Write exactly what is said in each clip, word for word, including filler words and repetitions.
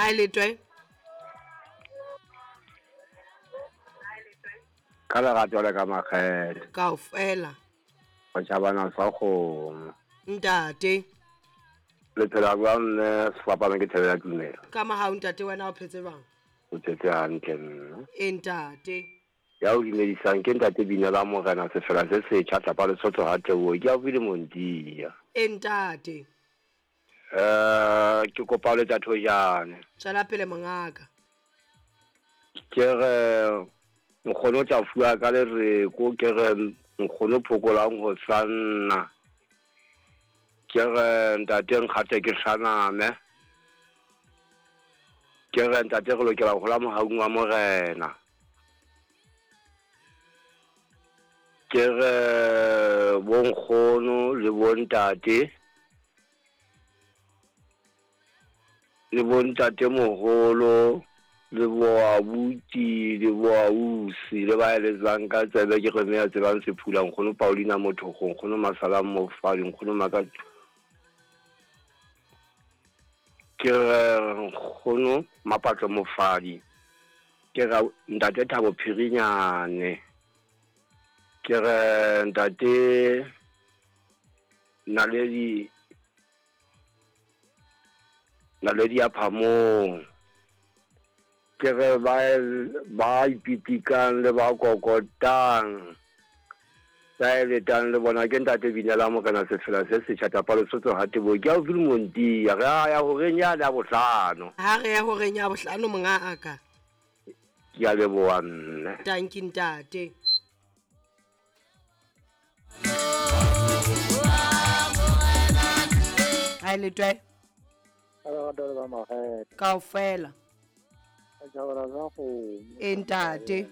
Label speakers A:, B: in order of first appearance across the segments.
A: Ha letwe.
B: Ka lerato le ka makgethe.
A: Kaofela.
B: Go tšhabana sa kgomo.
A: Ntate.
B: Le phela jwang mme sefapano ke thebe ya tumelo.
A: Ka mahau ntate wena o phetse jwang?
B: O phetse hantle mme.
A: E ntate.
B: Ya o dumedisang ke ntate Binela Morena sefela se setjha tlapa Lesotho ha Teboho ke haufi le Montia.
A: E ntate.
B: Eh ke kopa le tsa thojane.
A: Tswela pele mongaka.
B: Ke re nkgono tla fuwa ka lereko ke re nkgono phokolang ho sanna. Ke re ntate nkgate ke hlaname. Ke re ntate re lokela ho hola mohaung wa Morena. Ke re bonkgono le bontate le bontate moholo le boabuti le boausi le ba eletsang ka tsebe ke re mme ya tsebang sephula nkgono Paulina Mothogo nkgono Masalang Mofadi nkgono Maka ke re nkgono Mapatlo Mofadi ke re ntate Thabo Phirinyane ke re ntate Naledi Naledi ya Phamong ke re ba ba ipitikang le ba kokotang ba eletang le bona ke ntate Binela Morena sefela se setjha tapa Lesotho ha Teboho ke haufi le Montia re a ya horeng yane ya bohlano.
A: Ha re ya horeng ya bohlano mongaka.
B: Ke a leboha mme.
A: Tanki ntate. Ha letwe. Kaofela. E ntate.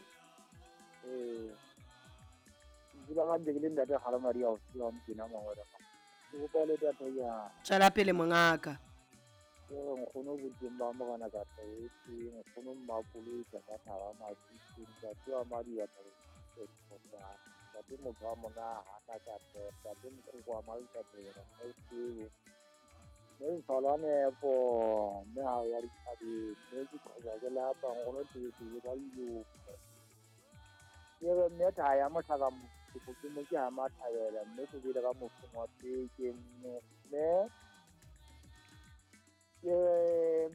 A: Tswela pele mongaka.
C: Mme Ntholwane po mme ha ya dithabeng mme ke qhoba ke lapa nkgono tebetebe ka dilopo. Ke re mme thaya mohlaka motho ke mo ke ha mathabela mme ke bile ka mofung wa peke mme mme ke